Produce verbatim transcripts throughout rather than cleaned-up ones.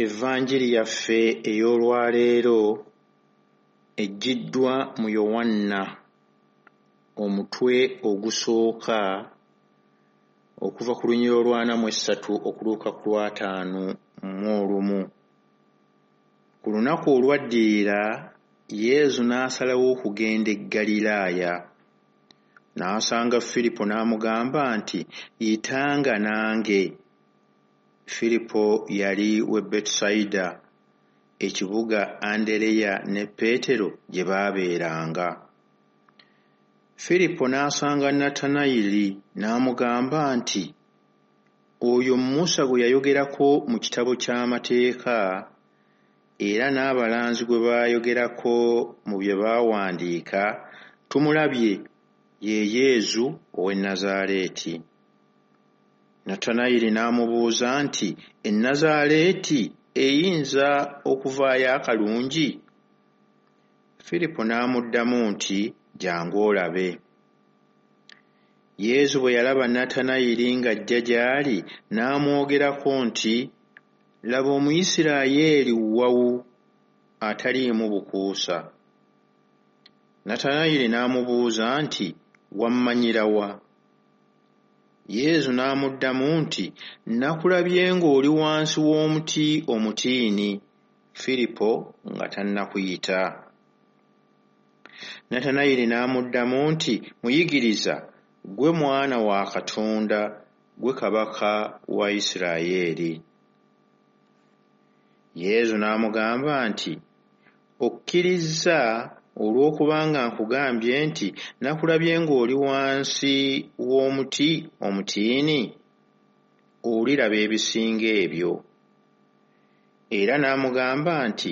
Evanjiri yaffe ey'olwaleero eggiddwa mu Yowanna omutwe ogusooka okuva ku lunyiriri olw'ana mu essatu okutuuka ku lw'ataano mu olumu. Ku lunaku olwaddirira Yesu n'asalawo okugenda e Ggaliraaya. N'asanga Firipo n'amugamba nti, "Yitanga nange." Firipo yali w'e Betusayida, ekibuga Andereya ne Peetero gye baabeeranga. Firipo n'asanga Natanayiri n'amugamba nti, "Oyo Musa gwe yayogerako mu kitabo ky'amateeka era n'abalanzi gwe baayogerako mu bye baawandiika tumulabye, ye Yesu ow'e Nazaaleeti." Natanayiri n'amubuuza nti, "E Nazaaleeti eyinza okuvaayo akalungi?" Firipo n'amuddamu nti, "Jjangu olabe." Yesu bwe yalaba Natanayiri ng'ajja gy'ali n'amwogerako nti, "Laba Omuyisirayiri wawu ataliimu bukuusa." Natanayiri n'amubuuza nti, "Wammanyira wa?" Yesu n'amuddamu nti, "Nakulabye ng'oli wansi w'omuti omutiini, Firipo nga tannakuyita." Natanayiri n'amuddamu nti, "Muyigiriza, ggwe Mwana wa Katonda, ggwe Kabaka wa Yisirayeli." Yesu n'amugamba nti, "Okkirizza olw'okubanga nkugambye nti nakulabye ng'oli wansi w'omuti omutiini? Oliraba ebisinga ebyo." Era n'amugamba nti,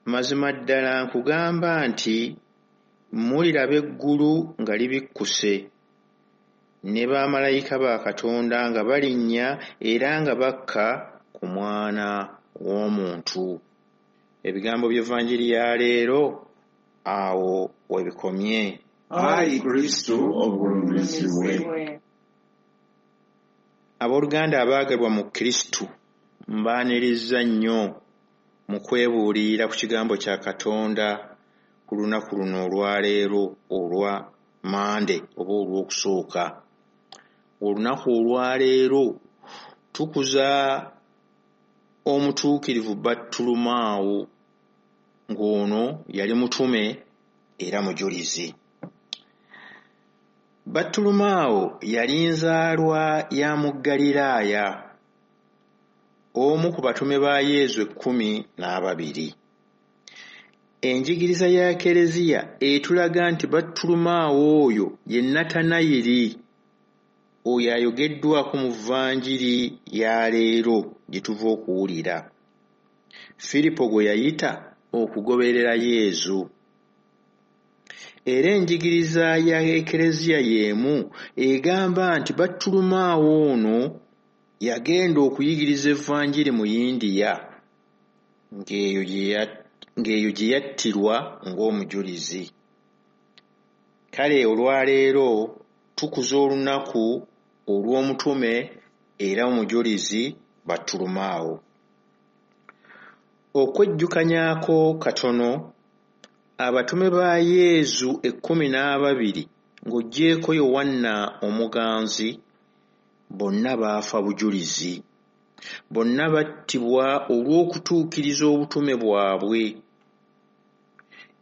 "Mazima ddala nkugamba nti muliraba eggulu nga libikkuse, ne bamalayika ba Katonda nga balinnya era nga bakka ku Mwana w'Omuntu." Ebigambo by'Evanjiri ya leero awo we bikomye. Ayi Kristo ogulumizibwe. Abooluganda abaagalwa mu Kristo, mbaanirizza nnyo mu kwebuulirira ku kigambo kya Katonda ku lunaku luno olwaleero olwa Mande oba olwokusooka. Olunaku olwaleero tukuza omutuukirivu Battulumaawo, ng'ono yali mutume era mujulizi. Battulumaawo yali nzaalwa ya mu Ggaliraaya, omu ku batume ba Yesu ekkumi n'ababiri. Enjigiriza ya Kereziya etulaga nti Battulumaawo oyo ye Natanayiri oyo ayogeddwako mu Vanjiri ya leero gye tuva okuwulira, Firipo gwe yayita okugoberera Yesu. Era enjigiriza ya Ekereziya y'emu egamba nti Battulumaawo ono yagenda okuyigiriza Evanjiri mu Yindiya, ng'eyo gye yattirwa ng'omujulizi. Kale olwaleero tukuza olunaku olw'omutume era omujulizi Battulumaawo. Okwejjukanyaako katono, abatume ba Yesu ekkumi n'ababiri ng'oggyeeko Yowanna omuganzi bonna baafa bujulizi. Bonna battibwa olw'okutuukiriza obutume bwabwe.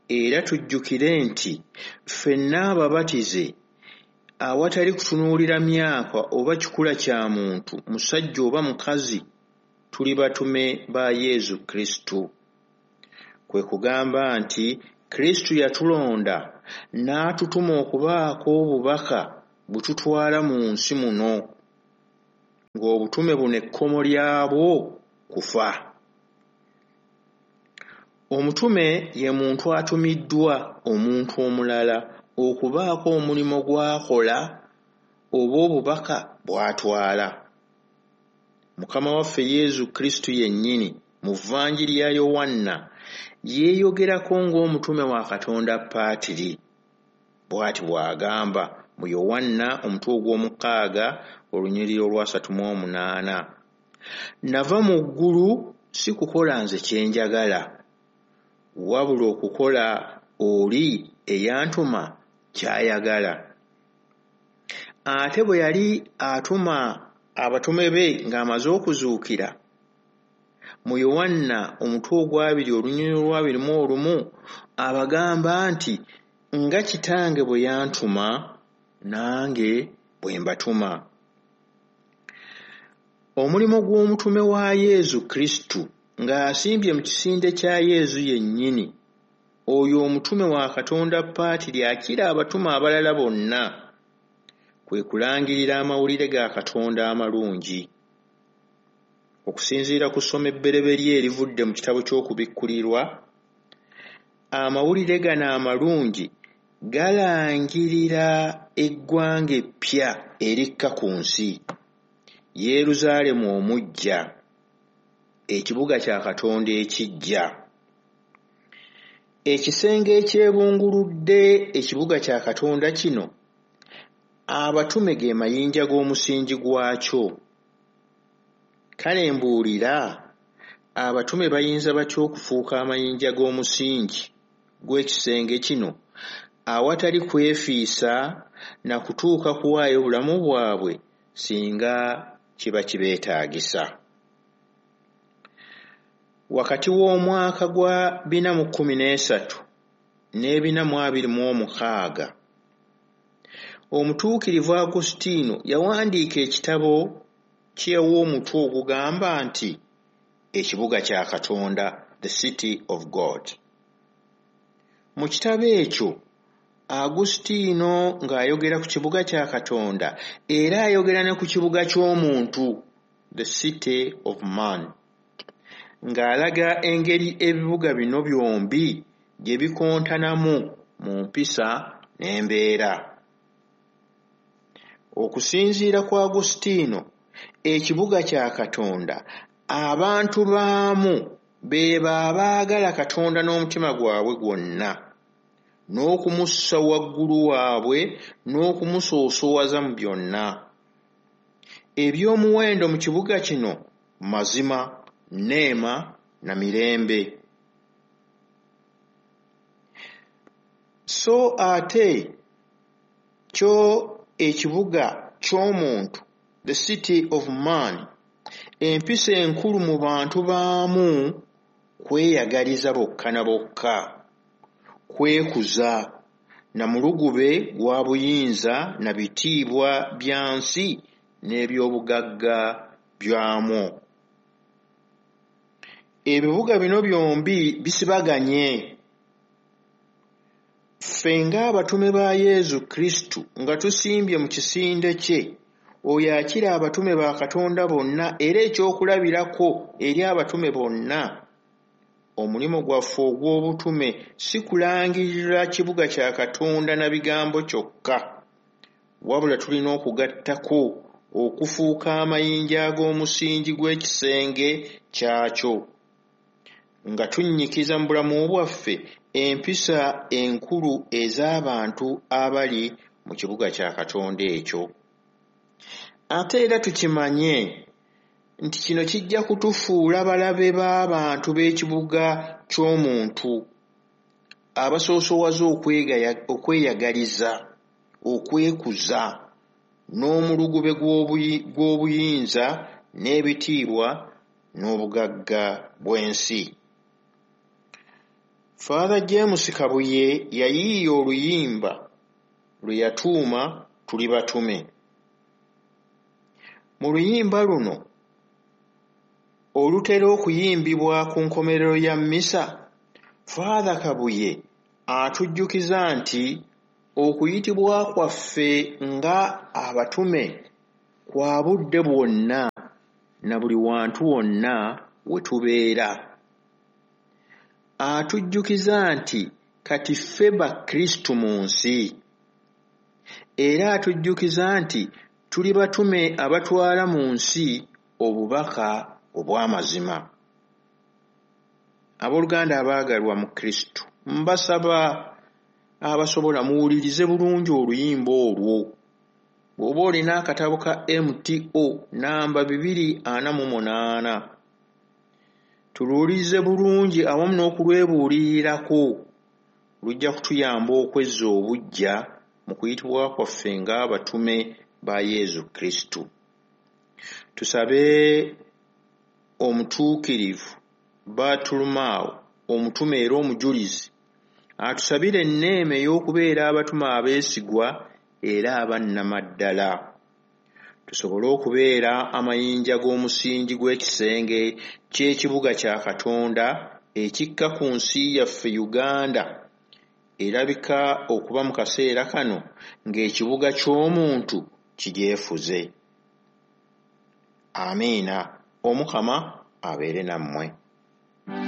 Era tujjukire nti ffenna ababatize awatali kutunuulira myaka oba kikula kya muntu, musajja oba mukazi, tuli batume ba Yesu Kristo. Kwe kugamba nti Kristo yatulonda n'atutuma okubaako obubaka bwe tutwala mu nsi muno, ng'obutume buno ekkomo lyabwo kufa. Omutume ye muntu atumiddwa omuntu omulala okubaako omulimu gw'akola oba obubaka bw'atwala. Mukama waffe Yesu Kristo yennyini mu Vanjiri ya Yowanna yeeyogerako ng'omutume wa Katonda Paatiri. Bw'ati bw'agamba mu Yowanna omutwe ogw'omukaaga olunyiriri olwasatu mu omunaana, "Nava mu ggulu si kukola nze kye njagala, wabula okukola oli eyantuma ky'ayagala. Ate bwe yali atuma abatume be ng'amaze okuzuukira, mu Yowanna omutwe ogwabiri olunyiriri olwabiri mu olumu abagamba nti nga Kitange bwe yantuma nange bwe mbatuma. Omulimu gw'omutume wa Yezu Kristu ng'asimbye mu kisinde kya Yezu yennyini, oyo omutume wa Katonda Paatiri akira abatume abalala bonna, kwe kulangirira amawulire ga Katonda amalungi. Okusinziira ku ssomo ebbereberye erivudde mu kitabo ky'Okubikkulirwa, amawulire gano amalungi galangirira eggwanga eppya erikka ku nsi, Yerusaalemu omuggya, ekibuga kya Katonda ekiggya. Ekisenge ekyebunguludde ekibuga kya Katonda kino, abatume ge mayinja g'omusingi gwakyo. Kale mbuulira, abatume bayinza batya okufuuka amayinja g'omusingi gw'ekisenge kino awatali kwefiisa na kutuuka kuwaayo bulamu bwabwe singa kiba kibeetaagisa? Wakati w'omwaka gwa bina mu kkumi n'esatu n'ebina mu abiri mu omukaaga, Omutuukirivu Agostino yawandiika ekitabo kye yawa omutwe ogugamba nti Ekibuga kya Katonda, The City of God. Mu kitabo ekyo Agostino ng'ayogera ku kibuga kya Katonda era ayogera ne ku kibuga ky'omuntu, The City of Man, ng'alaga engeri ebibuga bino byombi gye bikontanamu mu mpisa n'embeera. Okusinziira ku Agostino, ekibuga kya Katonda abantu baamu be abaagala Katonda n'omutima gwabwe gwonna, n'okumussa waggulu waabwe n'okumusoosowaza mu byonna. Eby'omuwendo mu kibuga kino mazima, neema na mirembe. So ate kyo ekibuga ky'omuntu, the city of man, empisa enkulu mu bantu baamu kweyagaliza bokka na bokka, kwekuza na mulugube gwa buyinza na bitiibwa bya nsi n'ebyobugagga byamwo. Ebibuga bino byombi bisibaganye. Ffe ng'abatume ba Yezu Kristu nga tusimbye mu kisinde kye, oyo akira abatume ba Katonda bonna era ekyokulabirako eri abatume bonna, omulimu gwaffe ogw'obutume si kulangirira kibuga kya Katonda na bigambo kyokka, wabula tulina okugattako okufuuka amayinja ag'omusingi gw'ekisenge kyakyo, nga tunnyikiza mu bulamu bwaffe empisa enkulu ez'abantu abali mu kibuga kya Katonda ekyo. Ate era tukimanye nti kino kijja kutufuula balabe b'abantu b'ekibuga ky'omuntu, abasoosowaza okweyagaliza, okwekuza, n'omulugube gw'obuyinza n'ebitiibwa n'obugagga bw'ensi. Father James Kabuye yayiiya oluyimba lwe yatuuma Tuli Batume. Mu luyimba luno olutera okuyimbibwa ku nkomerero ya mmisa, Father Kabuye atujjukiza nti okuyitibwa kwaffe nga abatume kwa budde bwonna na buli wantu wonna we tubeera. Atujjukiza nti kati ffe Bakristu mu nsi, era atujjukiza nti tuli batume abatwala mu nsi obubaka obw'amazima. Abooluganda abaagalwa mu Kristu, mbasaba abasobola muwulirize bulungi oluyimba olwo. Bw'oba olina akatabo ka M T O namba bibiri ana mu munaana, Tuluwulirize bulungi awamu n'okulwebuulirirako, lujja kutuyamba okwezza obuggya mu kuyitibwa kwaffe ng'abatume ba Yezu Kristu. Tusabe Omutuukirivu Bartolomeo omutume era omujulizi atusabire enneema ey'okubeera abatume abeesigwa era aba nnamaddala. Tusobole okubeera amayinja g'omusingi gw'ekisenge ky'ekibuga kya Katonda ekikka ku nsi yaffe Uganda erabika okuba mu kaseera kano ng'ekibuga ky'omuntu kigyefuze. Amiina. Omukama abeere nammwe.